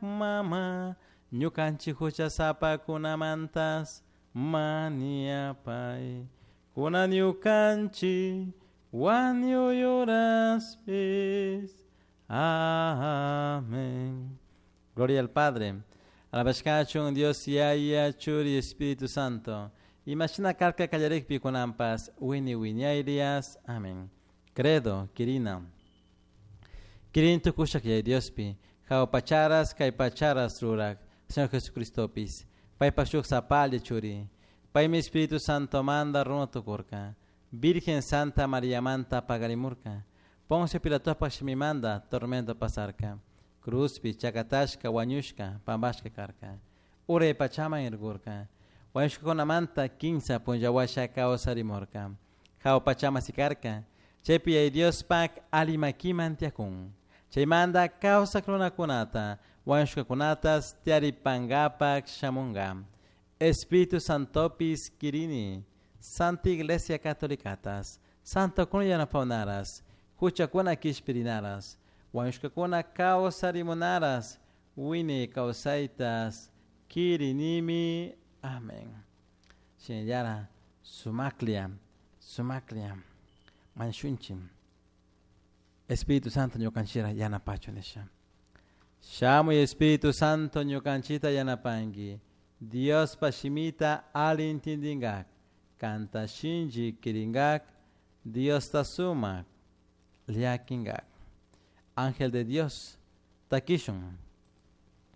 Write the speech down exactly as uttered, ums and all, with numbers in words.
Mama, ñukanchik huchasapakunamantas mañapay. Kunan ñukanchik wañuy horaspis. Amén. Gloria al Padre. Alabashkachun Dios Yaya Churi Espíritu Santo. Imashina karka kallarikpi kunanpas wini wiñayrias. Amén. Credo, Kirina. Kirin tukushak Yaya Diospi. Jao pacharas kay pacharas rurak. Señor Jesucristopis. Paypak shuk sapalla churi. Paymi Espíritu Santo manda runa tukurka. Virgen Santa María manta pagarimurka. Poncio Pilatopak shimimanda tormento pasarka. Cruzpi chakatashka wañushka pampashka karka. Uray pachaman irkurka. Wañushkakunamanta kinsa punlla washa kawsarimurka. Jahua pachaman sikarka. Chaypi Yaya Diospak ali makiman tiyakun. Chaymanta kawsak runakunata wañushkakunatas tiyaripankapak shamunka. Espíritu Santopis kirini. Santa Iglesia Catolicatas. Santokuna yanapawnaras. Huchakuna kishpirinaras. Wañushkakuna kawsarimunaras. Wiñay kawsaytas. Kirinimi. Amén. Shinallara sumaklla, sumaklla, mañashunchik. Espíritu Santo ñukanchira yanapachun nisha. Shamuy Espíritu Santo ñukanchita yanapanki. Diospa shimita ali intindingak. Kanta shinchi kiringak. Diosta sumak llakingak. Ángel de Dios, takishun.